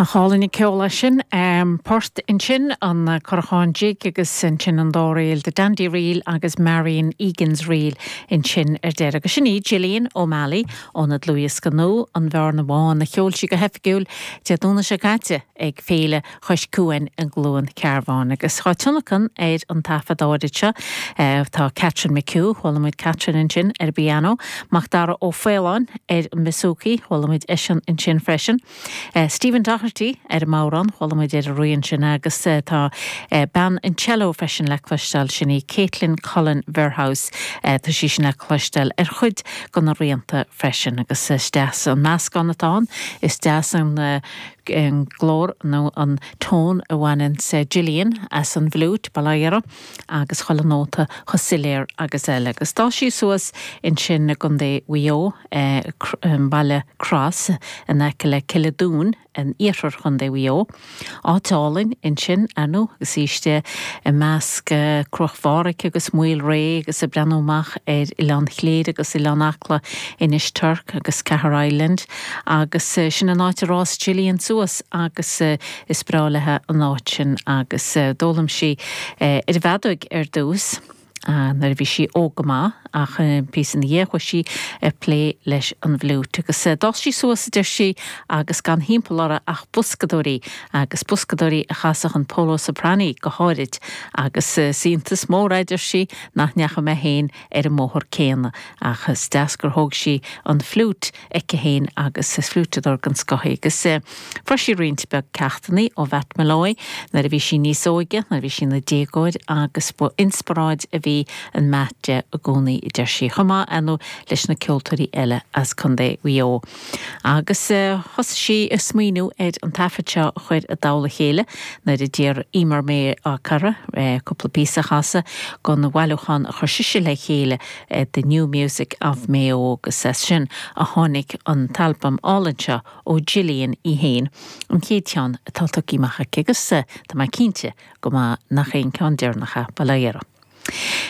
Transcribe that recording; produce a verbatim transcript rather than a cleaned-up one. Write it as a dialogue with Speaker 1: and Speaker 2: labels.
Speaker 1: Nach álainn an ceol é sin port ansin an Currachán Jig agus ansin an dá ríl The Dandy Reel agus Marion Egan's Reel ansin ar deireadh. Agus sin í Gillian O'Malley óna dlúthdhiosca nua an Bhearna Bhán a cheol sí go hoifigiúil Dé Domhnaigh seo caite ag Féile Chois Cuain i gCluain Cearbán. Agus tá tionlacan ar an taifead áirid seo tá Catherine McHugh, chuala muid Catherine ansin ar piano, Macdara Ó Faoláin ar an mbouzouki, chuala muid eisean ansin freisin. Stephen Doherty ar an mbodhrán chuala muid ar an rian sin agus tá bean an cello freisin le cloisteáil sin í Caitlin Cullen Verhouse tá sí sin le cloisteáil ar chuid de na rianta freisin agus is deas an meascán atá ann is deas an an glór nó an tón a bhaineann sé Gillian as an bhfliúit bailera agus chuile nóta chomh soiléir agus eile. Agus d'fhás sí suas ansin i gContae Mhaigh Eo baile Cross in aice le Cill an iarthar Chontae Mhaigh Eo. Áit álainn ansin anu agus istigh i measc Cruach Phádraig agus Maol Réidh agus ag breathnú amach ar Oileán Chléire agus Oileán Acla Inis Toirc agus Caher Island agus sin an áit ar fhás Gillian suas agus is breá léi an áit sin agus d'fhoghlaim sí ar an bhfeadóg ar dtús. nuair a bhí sí óg go maith ach píosa ina dhiaidh chuaigh sí ag plé leis an bhfliúit agus d'fhás sí suas deir sí agus gan timpeall uirthi ach boscadóirí agus boscadóirí a chasadh an Polo Soprani go háirid agus is iontas mór é deir sí nach ndeachaigh mé féin ar an mbóthar céanna ach is deas gur thóg sí an fliúit aici féin agus is fliúiteadóir den scoth í agus fuair sí roinnt beag ceachtanna ó Mhatt Molloy nuair a bhí sí níos óige nuair a bhí sí ina déagóir agus ba inspioráid a bhí in Matt di i gcónaí deir sí chomh maith anu leis na ceoltóirí eile as Contae Mhaigh Eo. Agus thosaigh sí ag smaoineamh ar an taifead seo a chur i dtoll a chéile nuair a d'iarr Emer May Cara cúpla píosa a chasadh don bhailiúchán a chuir sise le chéile The New Music of Mayo agus as sin a tháinig an t-albam álainn seo ó Gillian í féin an chéad cheann atá tugtha amach aici agus tá mé cinnte go maith nach aon ceann deireanach bailera.